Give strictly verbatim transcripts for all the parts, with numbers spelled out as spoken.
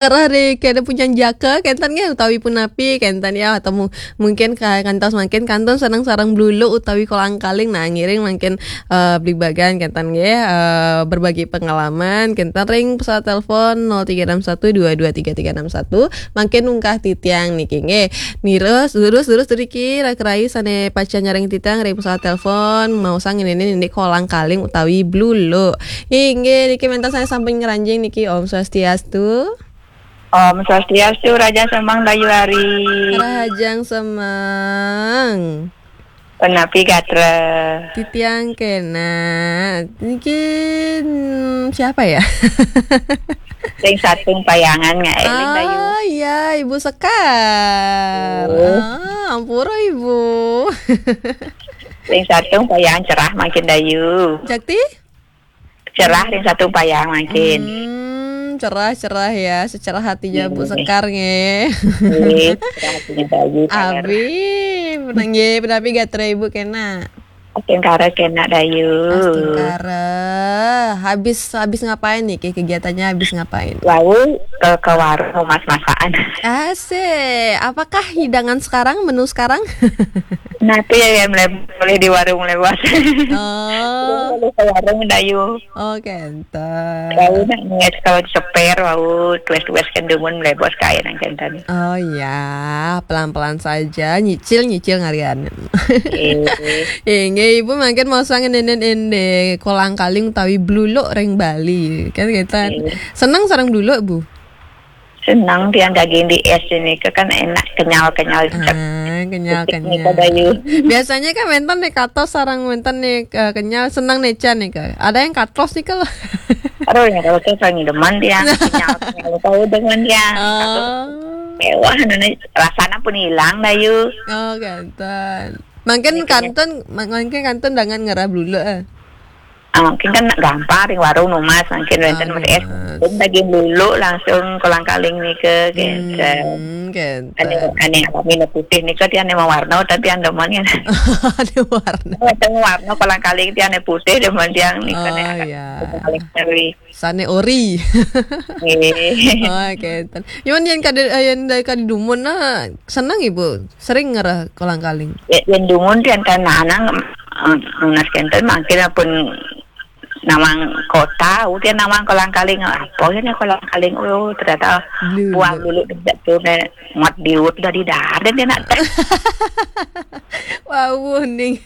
Arah deh kada punya jaka kenten nggih utawi punapi kenten ya, atau mu- mungkin ka- kantos mangkin kantun seneng sareng bluluk utawi kolang-kaling. Nah, ngiring mangkin eh, bligbagan kenten nggih, eh, berbagi pengalaman kenten ring pesawat telepon nol tiga enam satu dua dua tiga tiga enam satu. Mangkin ungkah titiang niki nggih. Nirus, durus, durus, duriki, rai sane pacan nyareng titiang ring pesawat telepon, mau sang ini, ini kolang-kaling utawi bluluk. Inggih, niki mentas saya samping ngeranjing niki, Om Swastiastu. Om Swastiastu, Raja Semang Dayu Ari. Rahajeng Semang. Penapi gatra. Titiang kena. Niki, hmm, siapa ya? Sing satung payangan nggak eling Dayu. Oh iya, Ibu Sekar. Oh. Ah, ampura Ibu. Sing satung payangan cerah makin Dayu. Jakti? Cerah ring satung payang mangkin. Hmm, cerah-cerah ya, secerah hatinya Bu Sekar nggih. Nggih, cerah hatinya Dayu. Abi, penanggih, penapi gatra Ibu kena. Astungkara kena Dayu. Astungkara. Habis habis ngapain nih? Ke- Kegiatannya habis ngapain? Lalu ke, ke warung mas-masakan. Asik. Apakah hidangan sekarang, menu sekarang? Nah, itu ya yang boleh di warung lewat. Oh. Lalu ke warung Dayu. Oh, kenten. Wau nak niat kalau ceper, wau tuwes-tuwes kendumun mlebos kae nang kenten. Oh iya, pelan-pelan saja, nyicil-nyicil ngarian. Eh, Inggih, Ibu mangkin mau sang ende-ende kolang kaling utawi bluluk ring Bali. Kan kita Iya. Seneng sareng bluluk, Bu? Seneng tiang daging di es ini ke kan enak kenyal-kenyal. Ah, kenyal-kenyal. Dayu. Biasanya kan wenten nih katos sareng wenten nih eh, kenyal seneng nih Chan nih ke. Ada yang katlos nih kalau. Aduh, yang kalau saya paling demen tiang kenyal-kenyal tahu demen tiang. Oh. Mewah, rasanya pun hilang Dayu. Oh, kenten. Mungkin kantun, mungkin kantun dengan ngerah bluluk eh. Ah, mungkin kan gampang ring warung numas mungkin wenten mas es. Pun daging bluluk langsung kolang kaling nika kenten. Hmm, kenten. Ane ane kami putih nika dia ane warna tapi yang demen kan. Ada warna. Ada warna kolang kaling dia ane putih demen dia nika. Oh, ane ya. Kolang kaling ori. Sane ori. Nggih. Oh, kenten. Cuman yang kada yang dari kada dumun nah senang Ibu. Sering ngerah kolang kaling. Ya, yang dumun dia kan nanang nas kenten mungkin pun nawang kota, udah nawang kolang kaling apa ya nih kolang kaling, oh ternyata buah bluluk tidak tuh nih mat diut dari daden ya nak. Wah, ning.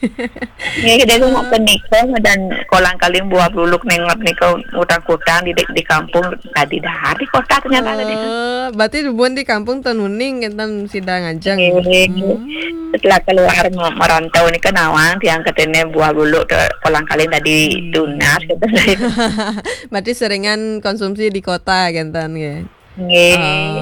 Ya kita tuh mau nikah dan kolang kaling buah bluluk nengot nikah utang kutang di di kampung tadi dari kota ternyata ada. Oh, berarti bukan di kampung tenuning kita sidang aja. Setelah keluar merantau ini kan nawang tiang ketene buah bluluk kolang kaling tadi tunas gitu. Berarti seringan konsumsi di kota kenten ya. Nggih.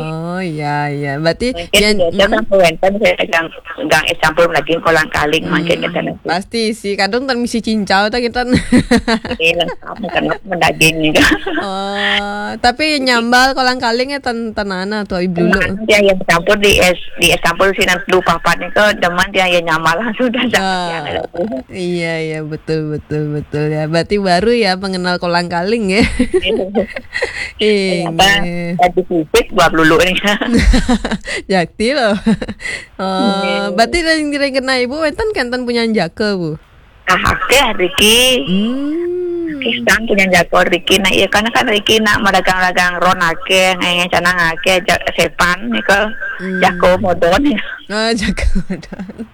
Oh iya iya. Berarti mungkin biasa kan wenten saya gang gang es campur lagi kolang kaling mungkin kita nanti. Pasti sih kadang tan misi cincau ta kita. Ini lengkap makan mendaging nih. Oh, tapi nyambal kolang kalingnya tan tanana tuh ibu lu. Dia yang campur di es di es campur sih nanti lupa apa nih kok demen dia yang nyambal langsung dah. Iya iya betul betul betul ya. Berarti baru ya mengenal kolang kaling ya. Ternyata tadi fisik buah bluluk ini. Jakti loh. Oh, berarti yang kira kena ibu wenten kenten punya jaka bu. Ah, akeh Riki. Hmm. Kistan punya jaka Riki. Nah, iya kan kan Riki nak meragang-ragang ron akeh, ngenge canang akeh, ja- sepan nika. Hmm. Jako modon. Oh, jako modon.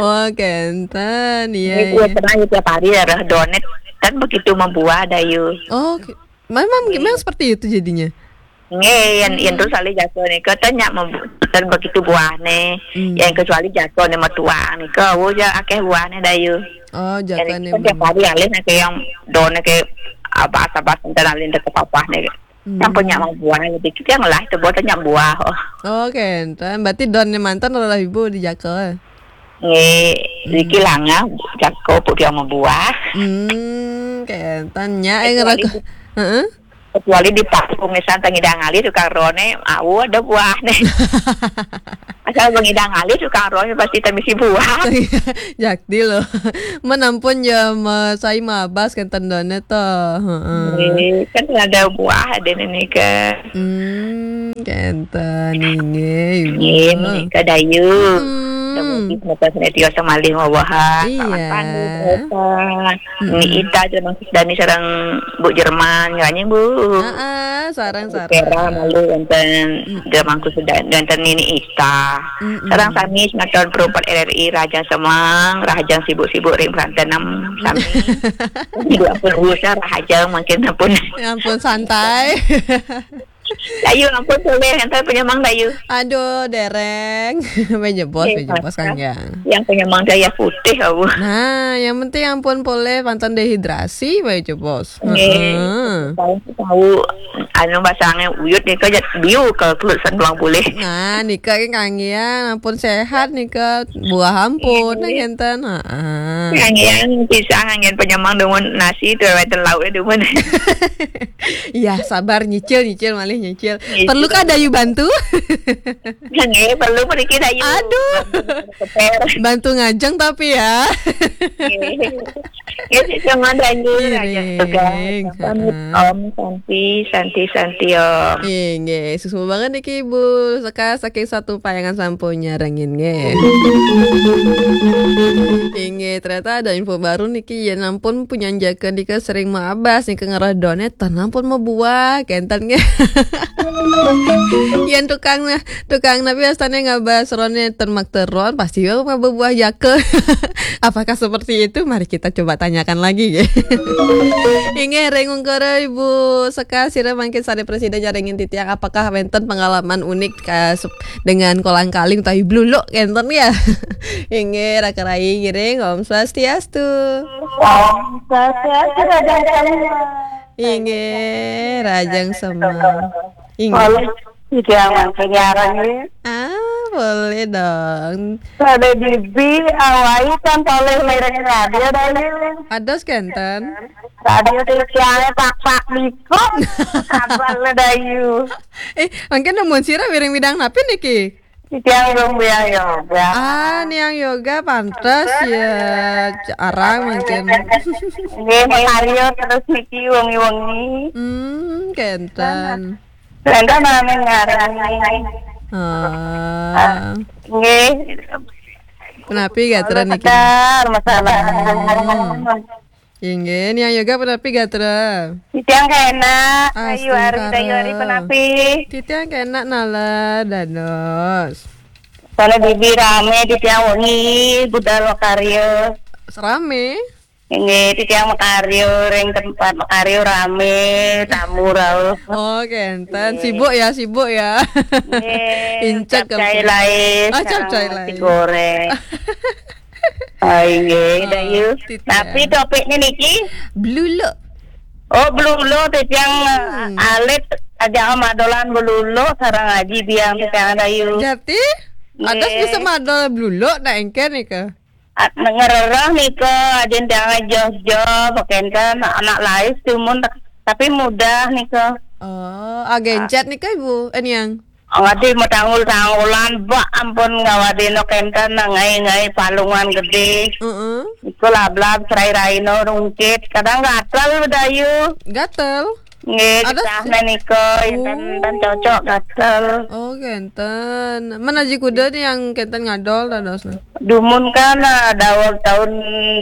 Oh, kenten. Iya. Ini iya. Pernah tiap hari ya donet kan begitu membuah Dayu. Oh, memang memang seperti itu jadinya. Nggih, yang yang terus alih jago nika tanya dan begitu buahne. Hmm. Yang kecuali jago ne metuang nika, oh ya akeh buahne Dayu. Oh, jago ne. Tiap hari alih nek yang done ke apa asap enten alih ke papah ne. Hmm. Yang punya mau buahne dikit yang lah itu buat tanya buah. Oh. Oh, kenten. Berarti don ne mantan adalah ibu di jago. Nggih, iki langah jago pun dia mau buah. Hmm, kenten nya eh ngerako. Heeh. Kecuali di Paku misalnya tengidang ali tukang rone, au ada buah nih. Kalau mengidang alih tukang roh pasti temisi buah. Jakti loh. Men ampun ya, ma-, sai mabas kenten done to. Heeh. Eh, kan ada buah ada nih ke. Hmm, kenten inggih, Ibu. Nggih, menika Dayu. Hmm. Semoga senantiasa malih mawahan. Iya. Kawan tani, Eva. Mm-mm. Ni Ita, Jerman Dani sareng Bu Jerman, nyanyi, Bu. Heeh, sareng-sareng. Kera malu wonten Mm. Jerman Dani, wonten Nini Ita. Mm-mm. Sareng sami semeton Pro empat R R I, rahajeng semeng, rahajeng sibuk-sibuk ring prantenem sami. Dua puluh busa rahajeng mangkin sampun. Ya ampun, santai. Dayu, ampun, polih, enten penyemang, Dayu. Aduh, dereng. Menyebos, eh, menyebos, masa Kang, ya. Yang penyemang daya putih, aku. Nah, yang penting ampun polih, panten dehidrasi, menyebos. Nggih. Heeh. Tahu, tahu, anu, basangnya uyut nih, kok jat biu kalau kelut satu pulang boleh. Nah, nika ki Kang Yang, ampun sehat nika, buah ampun, nggih, nah, ngenten. Heeh. Kang Yang, pisang, angin penyemang, demen nasi, tuh, wonten lauknya, demen. Iya, sabar, nyicil, nyicil, malih nyicil. Nyicil. Perlu kah Dayu bantu? Nggih, perlu mriki Dayu. Aduh. Keper. Bantu ngajeng tapi ya. Nggih. Ya, sesama Dayu, Raja Tegar. Miring. Pamit, heeh. Om, Santi, Santi, Santi, Om. Inggih, suksma banget niki, Ibu Seka, saking Satu Payangan sampun nyarengin, nggih. Inggih, ternyata ada info baru niki, ya ampun, punyan jaken nika sering maabas nika ngerah donet, ten ampun mabuah, kenten nggih. Yen tukang nah, tukang napi astane ngabas rone ten makteron, pasti ya mabuah jake. Apakah seperti itu? Mari kita coba tanyakan lagi, nggih. Inggih, ring ungkara Ibu Seka, sira mangkin sare presiden nyarengin titiang, apakah wenten pengalaman unik, eh, sep-, dengan kolang kaling utawi bluluk kenten ya? Inggih, raka rai ngiring, Om Swastiastu. Om Swastiastu, Raja Semua. Inggih, rahajeng semeng. Inggih. Polih, titiang mangkin nyarengin. Ah, boleh dong. Pada bibi, awai kan polih miring radio, Dayu. Ados kenten. Radio titiang pakpak niku. Abal, Dayu. Eh, mangkin nemuin sira miring bidang napi niki? Titiang belum biang yoga. Ah, niang yoga pantes ya, arang mangkin. Nggih, makarya terus niki wengi-wengi. Hmm, kenten. Kenten nami ngarani. Ah. Ah, nggih. Punapi gatra niki? Sekedar masalah. Hmm. Inggih, niang yoga punapi gatra? Titiang kena, Ayu Ari, Ayu Ari punapi? Titiang kena nala dados. Soalnya bibi rame, titiang wengi budal makarya. Serame? Inggih, titiang makarya ring tempat makarya rame, tamu rauh. Oh, kenten. Nggih. Sibuk ya, sibuk ya. Nggih, incek capcay kampung. Lae, oh, capcay lae. Nasi goreng. Oh, inggih, oh, Dayu. Titiang. Tapi topiknya niki? Bluluk. Oh, bluluk, titiang, hmm, alit aja madolan bluluk sareng Aji Biang titiang, Dayu. Jati? Nggih. Ados bisa madol bluluk nak engken nika? At-, ngerereh nika, ajin tiang jos-jos, kenten anak lais timun, tapi mudah nika. Oh, agencet nika, Ibu? Eh, Niang? Ngadi matanggul-tanggulan, bak ampun ngawadina kenten, ngai-ngai palungan gede. Heeh. Iku lablab, serai raina rungkit. Kadang gatel, Dayu. Gatel? Nggih, ados? Getah menika, oh, enten, enten cocok gatel. Oh, kenten. Men Aji Kuda nih yang kenten ngadol dadosna? Dumun kan, eh, daweg tahun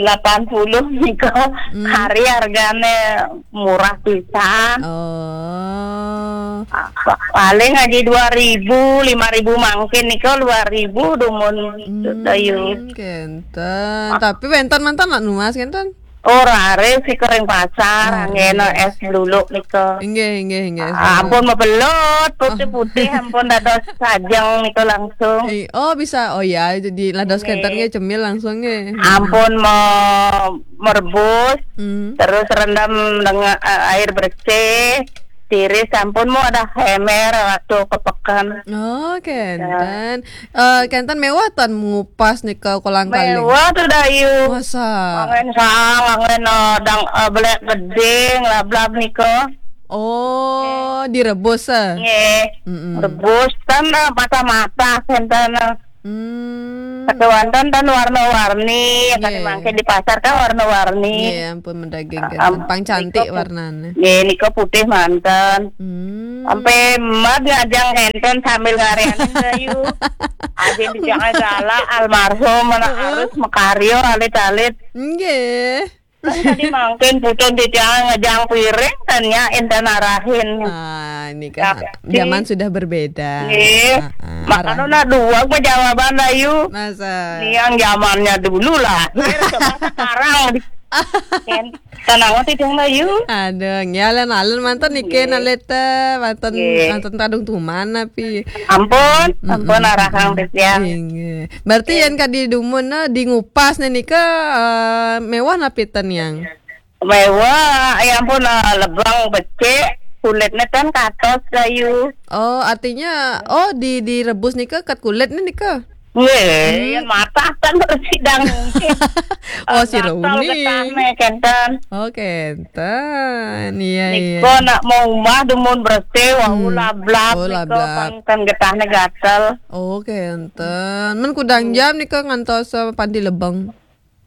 delapan puluh nika, hmm, hari hargane murah pisan. Oh. Ah, pa-, paling aja dua ribu, lima ribu mangkin nika dua ribu dumun, hmm, Dayu. Kenten. Ah. Tapi wenten mantan nak numas kenten? Oh, raris nika ring pasar, oh, anggena es bluluk nika. Inggih, inggih, inggih, es bluluk. Ah, ampun mabelut, putih-putih, oh, ampun dados sajeng nika langsung. Eh, oh, bisa. Oh ya, jadi lados, inggih, kenten nggih cemil langsung nggih. Ampun me-, merebus, hmm, terus rendam dengan, eh, air bersih, tiris, ampun mau ada hemer waktu ke peken. Oh, kenten. Ya. Eh, kenten mewah tan ngupas nika kolang kaling? Mewah tuh, Dayu. Masa? Angen sang, angen, eh, dang, eh, belek geding, lablab nika. Oh, direbus, eh? Nggih. Mm-mm. Rebus, tan, eh, mata-mata, kenten, eh. Hmm. Tapi wonten ten warna-warni, ya kan. Nggih. Mangke di pasar kan warna-warni. Nggih, ampun, mendaging. Ah, kenten. Am-, pang cantik nika pu-, warnane. Nggih, nika putih manten. Hmm. Sampai emat ngajang enten sambil ngarian, Dayu. Ajin titiang galak almarhum, anak. Heeh. Arus makarya alit-alit. Nggih. Kan tadi mangkin putun titiang ngejang piring, tanya enten arahin. Ah, ini kan. Ya, zaman sudah berbeda. Nggih. Ah, ah, makanya arah. Nah, dua jawaban, Dayu. Masa? Ini yang zamannya dulu lah. Coba sekarang. Kan, tenang titiang, Dayu. Aduh, nggih, alon-alon manten niki, nggih. Nalita, manten, nggih. Manten tadung tuman napi. Ampun, mm-mm, ampun, arahang titiang. Inggih. Berarti, nggih, yen kadi dumun, nah, di ngupas nika, eh, mewah napi ten, Yang? Mewah, ya ampun, eh, lebang becik, kulitnya kan katos, Dayu. Oh, artinya, oh, di, direbus nika ket kulitnya nika? Nggih, hmm. Yen matah kan sidang mungkin. Oh, eh, si gatel Rumi. Getahne, kenten. Oh, kenten. Iya, iya. Nika nak mau umah dumun bersih, wau, hmm, lablab, oh, nika lablab. Kan, kan getahne gatel. Oh, kenten. Men kudang, hmm, jam nika ngantos, eh, panti lebeng?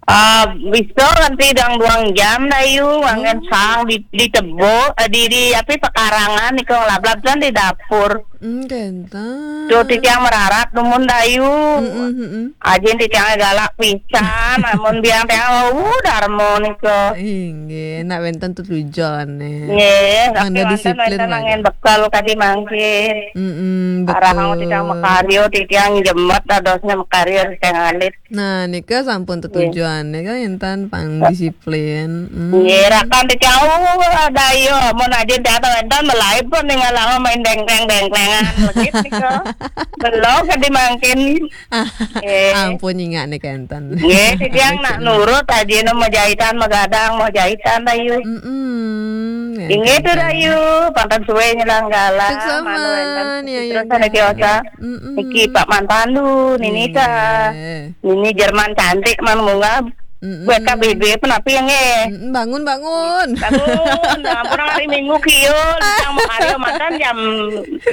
Ah, bisa nanti dang duang jam, Dayu, manggen, oh, sang di, di tebo, eh, di, di, api, pekarangan, nika ngelablab kan di dapur. Hmm, kenten. Tuh, titiang merarat dumun, Dayu. Mm-mm, mm-mm. Ajin titiang galak pisan, amun biang tiang, uh, darmo nika. Inggih, nak wenten tetujone. Nggih, mangda tapi wonten, disiplin wenten mangke. Mangen bekal kadi mangke. Mm-mm, betul. Arahang titiang makarya, titiang jemet dadosnya makarya, titiang alit. Nah, nika sampun, nggih, tetujone kan enten pang disiplin. Hmm. Nggih, rakan titiang, uh, Dayu, mun ajin tiang wenten melai pun ningalanga main dengkleng-dengklengan, legit nika. Belum kadi mangkin. Nggih. Ampun, nyingak nika enten. Nggih, titiang nak nurut, ajine mau jahitan, mau gadang, mau jahitan, Dayu. Mm-mm. Inggih tu, Dayu, panten suwe nyelang galah. Suksma, manu enten, ya, terus ya, ada kiosa. Mm-mm. Niki Pak Man Pandu, Nini ta. Nggih. Nini Jerman cantik, man munggah. Mm-mm. Buat K B B pun api ya, nggih? Mm-mm, bangun, bangun. Bangun, ampun, hari Minggu kiyo, tiang makarya manten jam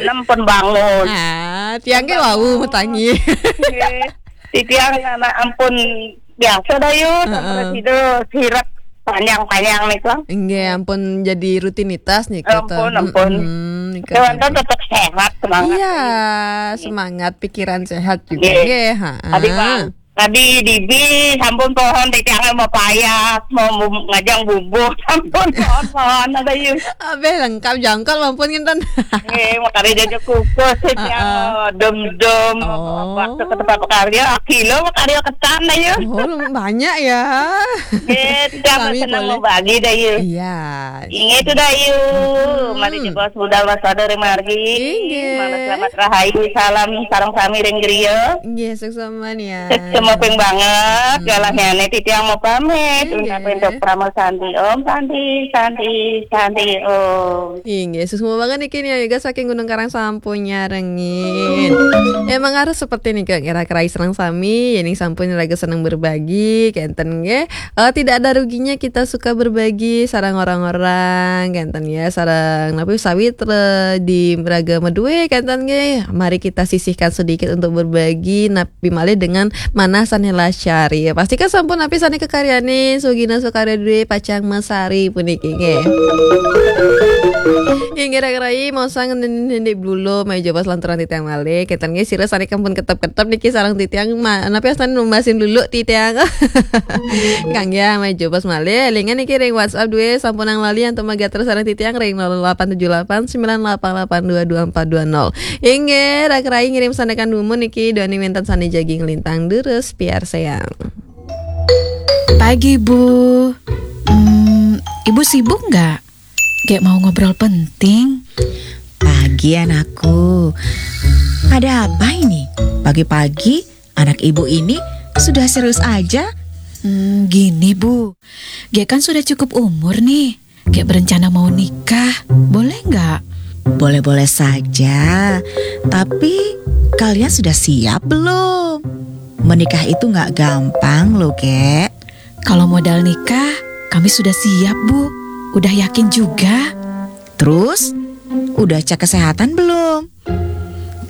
enam pun bangun. Ah, tiang ke wau matangi. Nggih. Titiang anak ampun biasa, Dayu, heeh, sampai situ sirep panjang-panjang nika. Nggih, ampun jadi rutinitas nika, ampun, to. Ampun. Mm-mm, nika. Kewan kan tetap sehat, semangat. Iya, semangat, pikiran sehat juga. Nggih. Nggih, ha. Tadi, Bang, tadi dibi sampun pohon titiang mau payah, mau bu-, ngajang bubuh, sampun pohon-pohon ada, Yu. Abeh lengkap jangkol ampun kinten. Nggih, makare jaja kukus, heeh, tiang, eh, dem-dem, oh, waktu ke tempat pekarya, kilo pekarya ketan, Dayu. Oh, banyak ya. Nggih, tiang senang membagi, Dayu. Iya. Inggih tu, Dayu. Mm-mm. Mari jebos budal waspada ring margi. Inggih. Mangda selamat rahayu, salam sareng sami ring griya. Inggih, suksma ya. Suksma ping banget, mm-mm, galahnyane titiang mau pamit. Inggih. Ungkapin dok Parama Santi, Om Santi, Santi, Santi, Om. Inggih, suksma banget niki nih, Yoga saking Gunung Karang sampun nyarengin. Emang harus seperti nika, kira-kira sareng sami, yen sampun raga seneng berbagi, kenten nggih. Eh, tidak ada ruginya kita suka berbagi sareng orang-orang, kenten ya, sareng napi sawitra di raga madue, kenten nggih. Mari kita sisihkan sedikit untuk berbagi, napi malih dengan manah sane lasari. Pastikan sampun napi sane kakaryane, sugina sukarya due pacang masari puniki nggih. Inggih, Rak Rai, mosang ndendi blulu, maju pas lanturan titiang malih. Kenten nggih, sira sane kampun ketep-ketep niki sareng titiang, ma-, napi astane numbasin dulu titiang. Kang ya, maju pas malih. Elingan niki ring WhatsApp due sampun ang lali antuk magater sareng titiang ring nol delapan tujuh delapan sembilan delapan delapan dua dua empat dua nol. Inggih, Rak Rai ngirim sandekan dumun niki, duaning wenten sane jagi nglintang durus, piarsayang. Pagi, Bu. Hmm, Ibu sibuk nggak? Kayak mau ngobrol penting. Pagi, anakku. Ada apa ini? Pagi-pagi, anak ibu ini sudah serius aja. Hmm, gini, Bu. Kayak kan sudah cukup umur nih. Kayak berencana mau nikah. Boleh nggak? Boleh-boleh saja. Tapi, kalian sudah siap belum? Menikah itu nggak gampang loh, Kek. Kalau modal nikah, kami sudah siap, Bu. Udah yakin juga. Terus, udah cek kesehatan belum?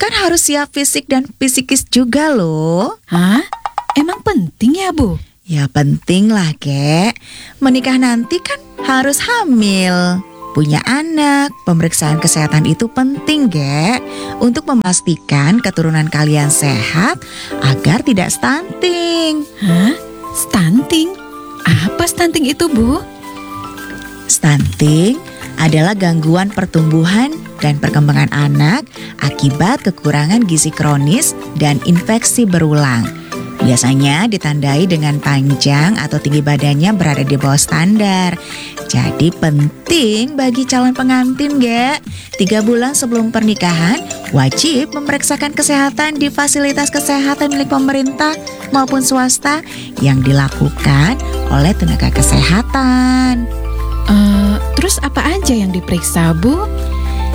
kan harus siap fisik dan psikis juga loh. Hah? Emang penting ya, Bu? Ya penting lah, Gek. Menikah nanti kan harus hamil. Punya anak, pemeriksaan kesehatan itu penting, Gek. Untuk memastikan keturunan kalian sehat agar tidak stunting. Hah? Stunting? Apa stunting itu, Bu? Stunting adalah gangguan pertumbuhan dan perkembangan anak akibat kekurangan gizi kronis dan infeksi berulang. Biasanya ditandai dengan panjang atau tinggi badannya berada di bawah standar. Jadi penting bagi calon pengantin, Gek. Tiga bulan sebelum pernikahan, wajib memeriksakan kesehatan di fasilitas kesehatan milik pemerintah maupun swasta yang dilakukan oleh tenaga kesehatan. Eh, terus apa aja yang diperiksa, Bu?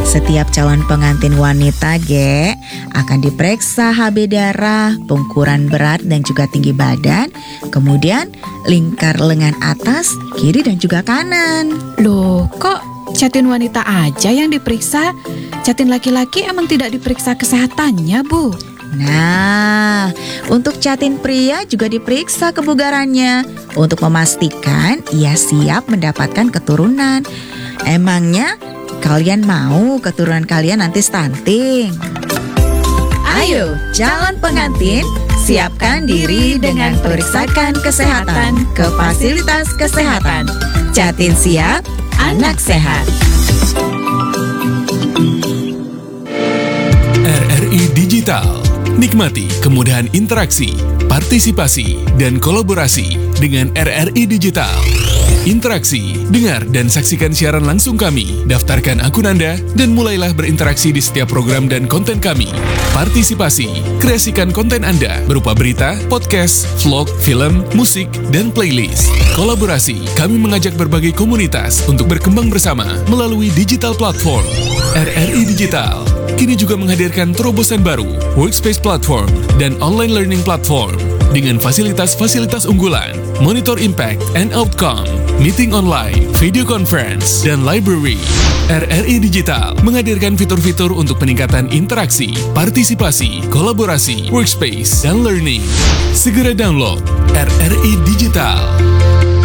Setiap calon pengantin wanita, Gek, akan diperiksa H B darah, pengukuran berat dan juga tinggi badan, kemudian lingkar lengan atas, kiri dan juga kanan. Loh, kok catin wanita aja yang diperiksa? Catin laki-laki emang tidak diperiksa kesehatannya, Bu? Nah, untuk catin pria juga diperiksa kebugarannya untuk memastikan ia siap mendapatkan keturunan. Emangnya kalian mau keturunan kalian nanti stunting? Ayo, calon pengantin, siapkan diri dengan periksakan kesehatan ke fasilitas kesehatan. Catin siap, anak sehat. R R I Digital. Nikmati kemudahan interaksi, partisipasi, dan kolaborasi dengan R R I Digital. Interaksi, dengar dan saksikan siaran langsung kami. Daftarkan akun Anda dan mulailah berinteraksi di setiap program dan konten kami. Partisipasi, kreasikan konten Anda berupa berita, podcast, vlog, film, musik, dan playlist. Kolaborasi, kami mengajak berbagai komunitas untuk berkembang bersama melalui digital platform. R R I Digital kini juga menghadirkan terobosan baru, Workspace Platform dan Online Learning Platform dengan fasilitas-fasilitas unggulan, monitor impact and outcome, meeting online, video conference, dan library. R R I Digital menghadirkan fitur-fitur untuk peningkatan interaksi, partisipasi, kolaborasi, workspace, dan learning. Segera download R R I Digital.